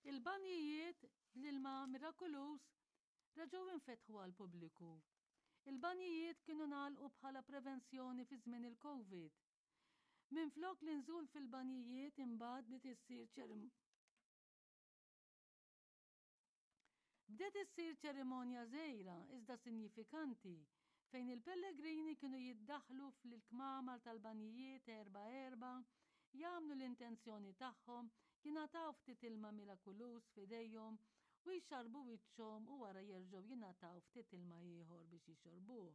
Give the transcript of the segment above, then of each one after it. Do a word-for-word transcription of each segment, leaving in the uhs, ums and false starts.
Il-banjijiet bl-ilma mirakoluż reġgħu infetħu għall-pubbliku. Il-banjijiet kienu ngħalqu bħala prevenzjoni fi żmien il-Covid. Minflok l-inżul fil-banjijiet imbagħad bdiet issir ċerim Bdiet issir ċerimonja żgħira iżda sinjifikanti fejn il-pellegrini kienu jiddaħħlu fl-kmamar tal-banjijiet erba' erba', jagħmlu l-intenzjoni tagħhom, jingħataw ftit ilma mirakuluż f'idejhom u jxarrbu wiċċhom u wara jerġgħu jingħataw ftit ilma ieħor biex jixorbuh.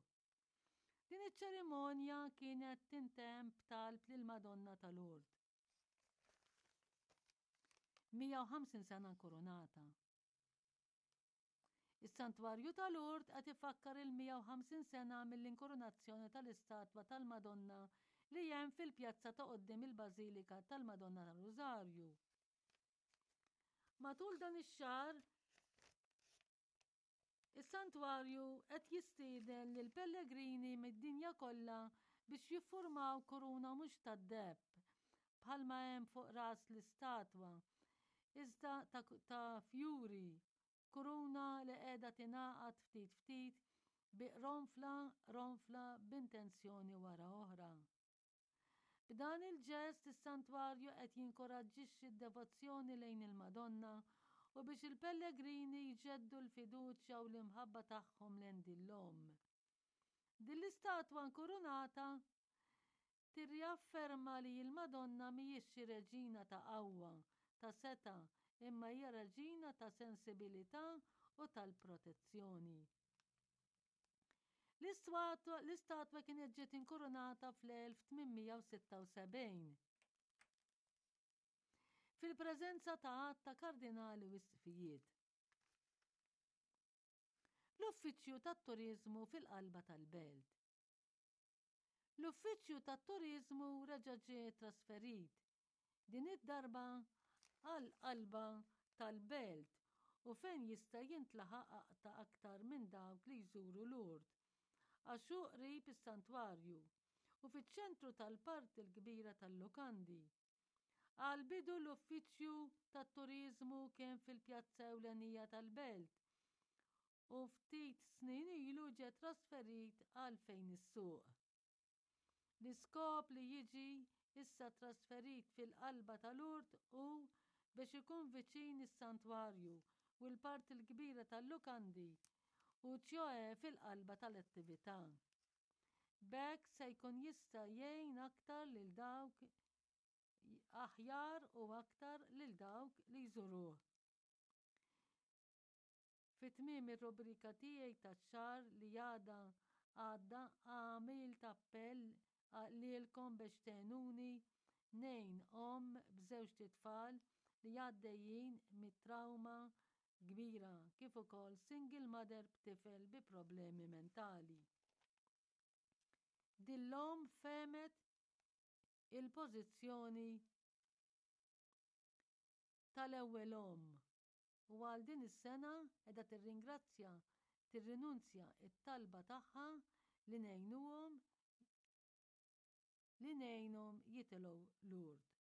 Din iċ-ċerimonja kienet tintemm b'talb lill-Madonna ta' Lourdes. mija u ħamsin sena nkurunata. Is-Santwarju ta' Lourdes qed ifakkar il-mija u ħamsin sena mill-inkurunazzjoni tal-istatwa tal-Madonna li hemm fil-pjazza ta' quddiem il-Bażilika tal-Madonna tar-Rużarju. Matul dan ix-xahar, is-santwarju qed jistieden lil pellegrini mid-dinja kollha biex jiffurmaw kuruna mhux tad-deheb bħalma hemm fuq ras l-istatwa, iżda ta', ta' fjuri, kuruna li qiegħda tingħaqad ftit ftit bi qronfla qronfla b'intenzjoni wara oħra. B'dan il-ġest is-santwarju qed jinkoraġġixxi d-devozzjoni lejn il-Madonna u biex il-pellegrini jġeddu l-fiduċja u l-imħabba tagħhom lejn din l-omm. Din l-istatwa nkurunata tirriafferma li l-Madonna mhijiex xi reġina ta' qawwa, ta' setgħa, imma hija reġina ta' sensibilità u tal-protezzjoni. L-istatwa kienet ġiet inkurunata fl-elf tmien mija u sitta u sebgħin fil-preżenza ta' għadd ta' kardinali u isqfijiet. L-Uffiċċju tat-Turiżmu fil-qalba tal-belt. L-Uffiċċju tat-Turiżmu reġa' ġie trasferit, din id-darba għall-qalba tal-belt u fejn jista' jintlaħaq aqta' aktar minn dawk li jżuru Lourdes, għax hu qrib is-santwarju u fiċ-ċentru tal-parti l-kbira tal-lukandi. Għall-bidu l-Uffiċċju tat-Turiżmu kien fil-pjazza ewlenija tal-belt u ftit snin ilu ġie trasferit għal fejn is-suq. L-iskop li jiġi issa trasferit fil-qalba ta' Lourdes hu biex ikun viċin is-santwarju u l-parti l-kbira tal-lukandi u ċjoe fil-qalba tal-attività. B'hekk se jkun jista' jgħin aktar lil dawk aħjar u aktar lil dawk li jżuruh. Fi tmiem ir-rubrika tiegħi tax-xahar li għadha għadda għamilt appell lilkom biex tgħinuni ngħin omm b'żewġt itfal li għaddejjin mit-trawma kbira kif ukoll single mother b'tifel bi problemi mentali. Din l-omm fehmet il-pożizzjoni tal-ewwel omm u għal din is-sena qiegħda tirringrazzja tirrinunzja t-talba tagħha li ngħinuhom li ngħinhom jitilgħu Lourdes.